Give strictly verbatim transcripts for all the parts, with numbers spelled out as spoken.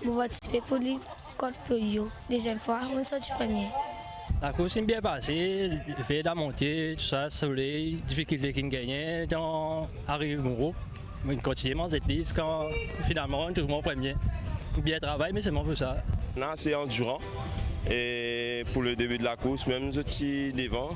Mo partisipe pou Lig kont Polio. Deziem fwa, mo sorti premie. Lakours inn bien pase, fer lamonte, tou sa, soley, difikilte ki'nn gagne, dan ariv mo group. Mo'nn kontigne manz li ziska finalman mo'nn trouv mwa premie. Bien travay, me selman pou sa. La, se andiran. E pou le debi de lakours, mem zot ti devan.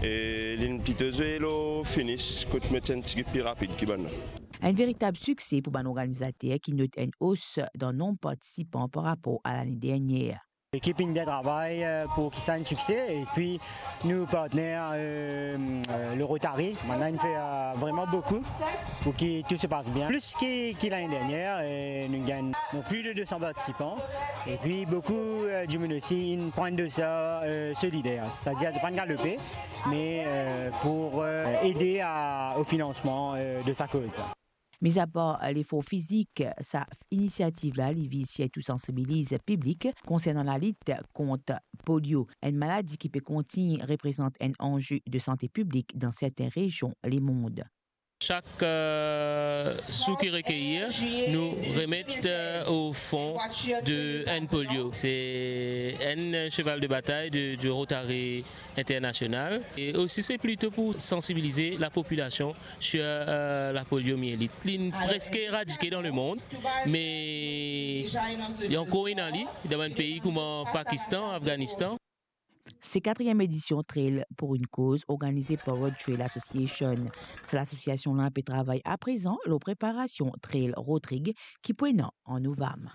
E li'nn plito zwe lor finish, kot mo ti enn tigit pli rapid ki bann la. Enn veritab sikse pou bann organizater ki not enn os dan nonb partisipan par rapor a lane dernier. Lekip inn bien travay, euh, pou ki sa enn sikse, epi nou partner, euh, euh, le Rotary, bann la inn fer, euh, vreman boukou pou ki tou se pas bien. Plis ki, ki lane dernier, e nou gagn, donk, plis de de san partisipan, epi boukou, euh, dimoun osi inn pran enn dosar, euh, solider, setadir zot pa'nn galope, me, euh, pou, euh, ede a, o finansman, euh, de sa koz. Mizapar lefor fizik, sa inisiativ la, li viz sirtou sansibiliz piblik konsernan lalit kont polio, enn maladi ki pe kontign reprezant enn anze de sante piblik dan sertin rezion lemond. Sak, euh, sou ki rekeir, nou remet, euh, o fon de enn polio. Se enn seval de batay de, de Rotary International. E osi, se plito pou sansibilize lapopilasion sir, euh, la poliomielit. Li'nn preske eradike dan lemond, me li ankor ena li dan bann pei kouma Pakistan, Afganistan. Se katriem edision Trail pour une cause, organize par Road Trail Association. Sa lasosiasion la pe travay aprezan lor preparasion Trail Rotrig ki pou ena an novam.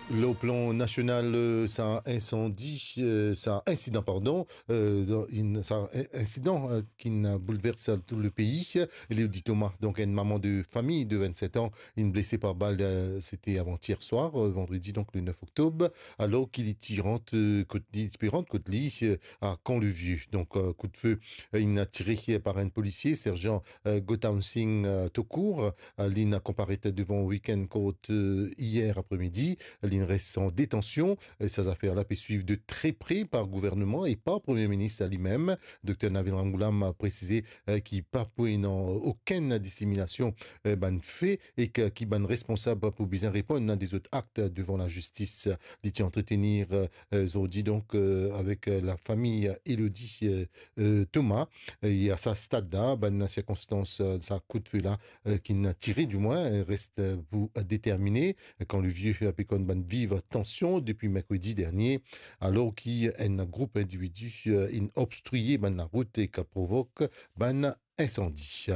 Lor plan nasional, euh, sa insandi, euh, sa insidan, pardon, euh, dan, in-, sa in-, insidan, euh, ki'nn boulvers tou le pei. Elodie Thomas, donk enn mama de fami de vennset an, inn blese par bal, euh, sete avantier swar, euh, vandredi, donk le nef oktob, alor ki li ti rant, euh, kot li, ti pe rant kot li, euh, a Camp-le-Vieux. Donk, euh, kout dife, euh, inn tire par enn polisie, serjan, euh, Gautam Singh, euh, Thakur, euh, li'nn konparet devan Weekend Court, euh, yer apremidi. Li'nn res an detansion. Euh, sa zafer la pe swiv de tre pre par gouvernman e par Premie Minis limem. Dokter Navin Ramgoolam a presize, euh, ki pa pou ena okenn diseminasion, euh, bann fe e ki, ki bann responsab pou bizin reponn a dezot akt devan lazistis. Li ti antretenir, euh, zordi, donk, euh, avek, euh, lafami Elodie, euh, euh, Thomas. E a sa stad la, bann sirkonstans, euh, sa kout dife la, euh, ki'nn tire, dimwin, euh, res, euh, pou determine. Camp-le-Vieux pe konn bann viv tansion depi merkredi dernie, alor ki enn group individi, euh, inn obstriye bann larout e ki provok bann insandi.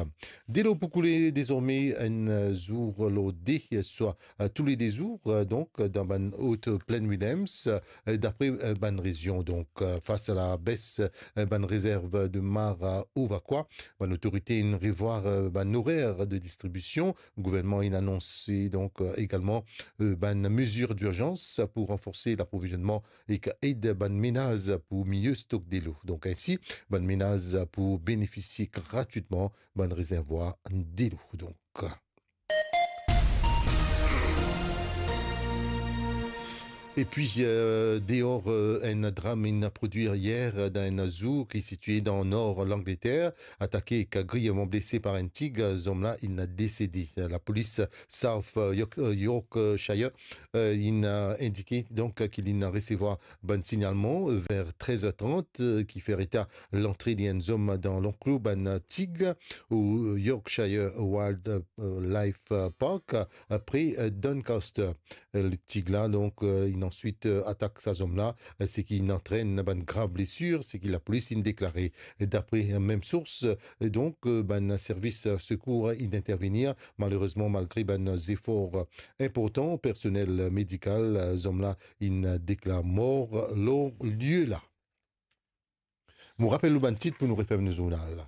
Delo pou koule dezorme enn zour lor de, swa, euh, toule de zour, euh, donk, dan bann Haute Plaine Willems, euh, dapre, euh, bann rezion. Donk, euh, fas a labes, euh, bann rezerv de mar, euh, o vakwa, bann otorite inn revwar, euh, bann orer de distribision. Gouvernman inn anonse, donk, euh, egalman, euh, bann mezir dirzans pou ranforse laprovizionman ek ed bann menaz pou mie stok delo. Donk, ensi, bann menaz pou benefisie gratwitman bann rezervwar delo. Donk, epi, euh, deor, euh, enn dram inn prodwir yer dan enn zour ki sitie dan nor Langleter, atake ek grievman blese par enn tig, zom la inn desede. Lapolis South, euh, York-, euh, Yorkshire, euh, inn, euh, indike donk ki li'nn resevwar bann signalman, euh, ver trez er trant, euh, ki fer eta lantre de enn zom dan lanklo bann tig o Yorkshire Wild, euh, Life, euh, Park, euh, pre, euh, Doncaster. Euh, le tig la, donk, euh, inn answit, euh, atak sa zom la, euh, seki inn antrenn bann grav blesir, seki lapolis inn deklare. Dapre, euh, mem sours, euh, donk, euh, bann servis, euh, sekour inn intervenir. Malerezman, malgre bann zefor, euh, inportan, personel medikal, euh, zom la inn deklar mor lor lie la. Mo rapel nou bann tit pou nou referm nou zournal.